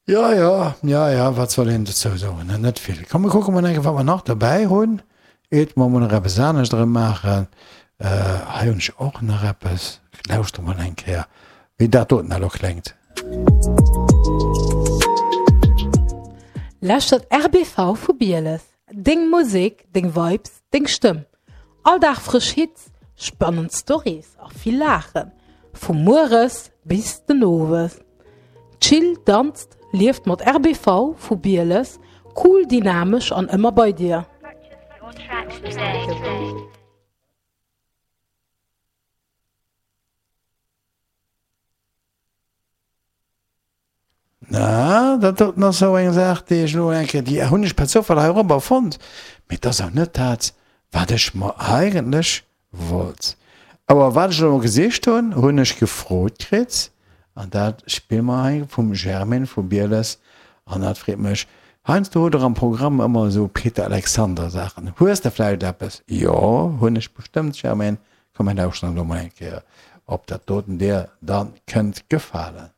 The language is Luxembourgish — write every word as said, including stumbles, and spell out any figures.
Jo, jo, jo, jo, wat soll een dozou soen, net vill. Komm, mir kucke mol eng Kéier, wat mer nach dobäi hunn, iert mer mol nach eppes anescht erëm maachen. Hei hunn ech och nach eppes. Lauschter mol eng Kéier, wéi dat doten elo kléngt. Lauschtert R B V vu Bieles. Deng Musek, deng Vibes, deng Stëmm. All Dag frësch Hits, spannend Stories a vill Laachen. Vu mueres bis den Owes. Chillt, danzt, lieft mat R B V vu Bieles, cool, dynamesch an ëmmer bei dir. Na, dat doten ass esou eng Saach, déi ech elo eng Kéier, déi hunn ech per Zoufall heirobber fonnt, mee et ass awer net dat, wat ech mer eigentlech wollt. Awer wat ech elo gesicht hunn, hunn ech gefrot kritt, an dat spille mer hei vum Germaine vu Bieles, an dat freet mech. Heiansdo hutt Der am Programm ëmmer esou Peter Alexander Saachen. Hues de vläicht eppes? Jo, hunn ech bestëmmt, Germaine. Komm, mir lauschteren elo mol eng Kéier, ob dat doten dir da kënnt gefalen.